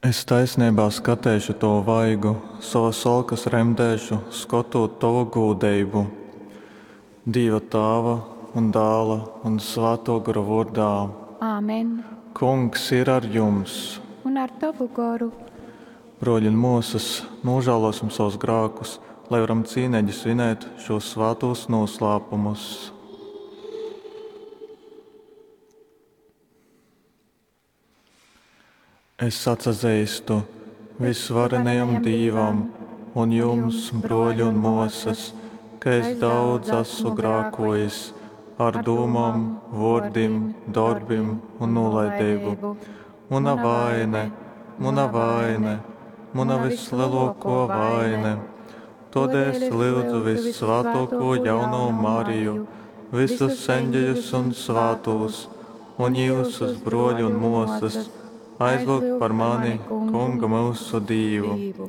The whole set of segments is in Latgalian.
Es taisneibā skateišu tovu vaigu, sovas olkas remdēšu, skotūt tovu gūdeibu. Dīva Tāva un Dāla un Svātō Gora vōrdā. Amen. Kungs ir ar jums! Un ar tovu goru. Brōļi un mōsas, nūžālōsim sovus grākus, lai varam cīneigi svinēt šūs svātūs nūslāpumus. Es atsazeistu visvarenajam Dīvam un jums, brōļi un mōsas, ka es daudz esmu grākojis ar dūmom, vōrdim, dorbim un nūlaideibu. Muna vaine, muna vaine, muna vyslelōkō vaine. Tōdēļ es lyudzu vyssvātōkū jaunō Mariju, visus eņģeļus un svātūs, un jyusus, brōļi un mōsas, aizlyugt par mani Kungu myusu Dīvu.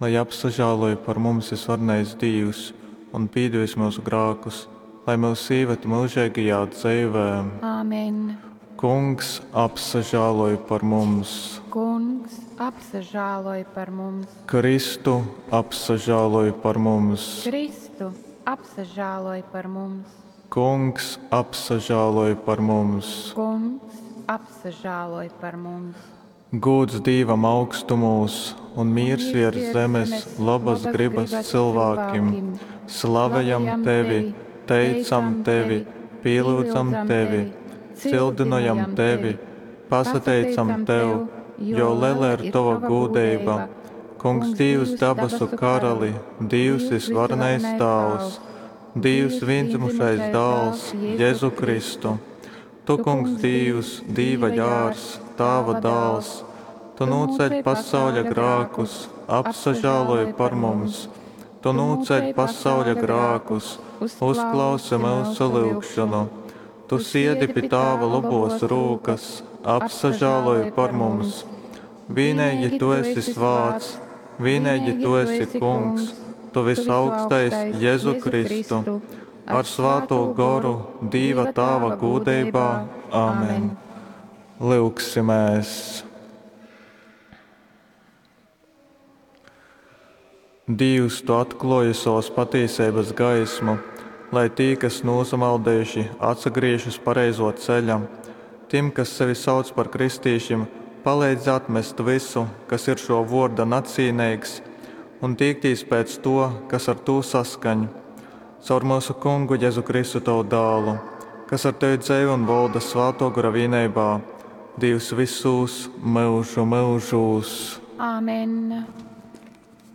Lai apsažāloj par mums vysvarenais Dīvs un pīdevis myusu grākus, lai myus īvad myužeigajā dzeivē. Amen. Kungs, apsažāloj par mums! Kungs, apsažāloj par mums! Kristu, apsažāloj par mums! Kristu, apsažāloj par mums! Kungs, apsažāloj par mums! Kungs, apsažāloj par mums! Gūds Dīvam augstumūs un mīrs viers zemes lobas grybas cylvākim. Slavejam tevi, teicam tevi, pīlyudzam tevi, cildynojam tevi, pasateicam tev, jo lela ir tova gūdeiba. Kungs Dīvs dabasu karali, Dīvs vysvarenais Tāvs, Dīvs vīndzymušais Dāls, Jezu Kristu. Tu, Kungs Dīvs, Dīva jārs, Tāva dāls, tu nūceļ pasauļa grākus, apsažāloj par mums. Tu nūceļ pasauļa grākus, uzklausi myusu lyugšanu. Tu siedi pi Tāva lobos rūkas, apsažāloj par mums. Vīneigi tu esi svāts, vīneigi tu esi Kungs, tu visaugstais Jezu Kristu, ar svātū goru Dīva Tāva gūdeibā. Āmen. Lyugsimēs! Dīvs, tu atklōji sovas patīseibas gaismu, lai tī, kas nūsamaldējuši, atsagrīž uz pareizō ceļa. Tim, kas sevi sauc par kristīšim, paleidz atmest vysu, kas ir šō vōrda nacīneigs, un tīktīs pēc to, kas ar tū saskaņ. Caur myusu Kungu Jezu Kristu tavu dālu, kas ar tevi dzeivoj un volda Svātō Gora vīneibā, Dīvs vysūs myužu myužūs. Amen.